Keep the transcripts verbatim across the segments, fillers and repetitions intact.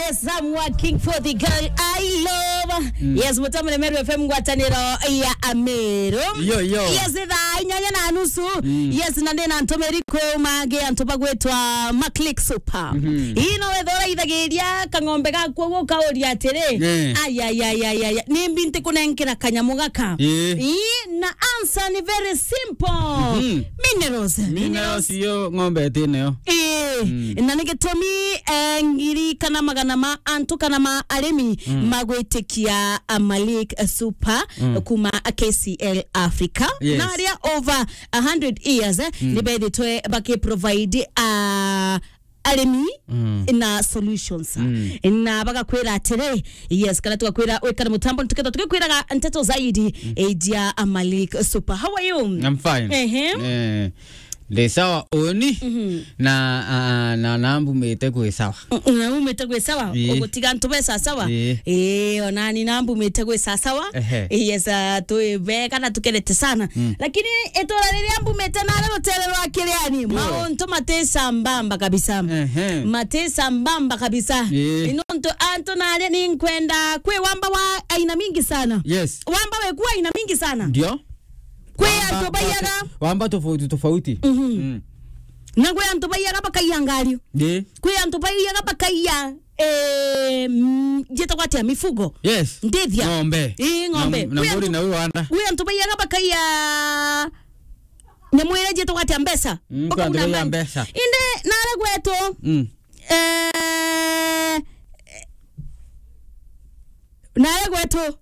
Yes, I'm working for the girl I love. Mm. Yes, Mutamure Meru F M, ngwataniro ya Ameru. Yo, yo. Yes, thaa inyanya na nusu. Mm. Yes, na ndina ntumiri kuuma ngi antu bagwitwa Maclick Super. Mhm. Ino wethora ithagiria kang'ombe gaku uguo kauria atiri, eh, "Ai, ai, ai, ai, ai, ni mbi ntikunenkera kanyamu gaka?" Eh. Ii, na answer ni very simple. Mhm. Minerals. Minerals yo ng'ombe iti nayo. Ii, mm, na ni gitumi, eh, ngiri kana magana ma antu kana ma arimi, mm, magwitikia Amalik Super, mm, kuma K C L Africa. Yes. Na aria over a hundred years, eh, mm, ni bethitwe baki provide, ah, arimi, mm, na solutions. Mm. Na bagakwira atiri, yes, kana tugakwira wikare mutambo, tukethwa tugikwiraga nteto zaidi, mm, ijia Amalik Super. How are you? I'm fine. Ehe. Eh, ndi sawa uni. Mhm. Na, ah, na, na mbumite kwi sawa. Mm, na umite kwi sawa? Ii. Ugutiga ntu be sawa sawa? Ii. Ii, onani na mbumite kwi sawa sawa. Ehe. Yes, ah, twi bega na tukenete sana. Mm. Lakini itura riria mbumite nari rutere rwa Kiriani, ii, mauntu mati sambamba kabisa. Ehe. Mati sambamba kabisa. Ii. Nontu antu nari ni nkwenda kwi wamba wa aina mingi sana. Yes. Wamba weku aina mingi sana. Ndio. Kwi antu baiyaga wamba tofauti tofauti. Mhm. Mm. Na kwi antu baiyaga bakaiya ngari. Ii. Kwi antu baiyaga bakaiya, eh, mm, njitagwa atia, mifugo. Yes. Ndithia. Ng'ombe. Ii, ng'ombe. Na, na kwi mburi antu, na uyu wanda. Kwi antu baiyaga bakaiya nyamu iria njitagwa atia, mbeca. Mm, kwi antu baiya mbeca. Indi nare gwetu. Mm. Eh, nare gwetu.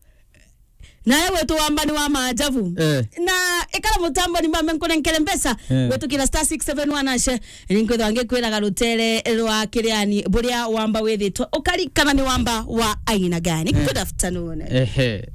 Nawe gwetu wamba ni wa maajabu. Eh. Na ikara mutambo ni mbambe nkunenkere mbeca. Eh. Gwetukira star six seven one hash. Ni nkwithwa ngikwiraga rutere rwa Kiriani buria wamba withitwe. Ukarikana ni wamba wa aina gani? Eh. Good afternoon. Ehe.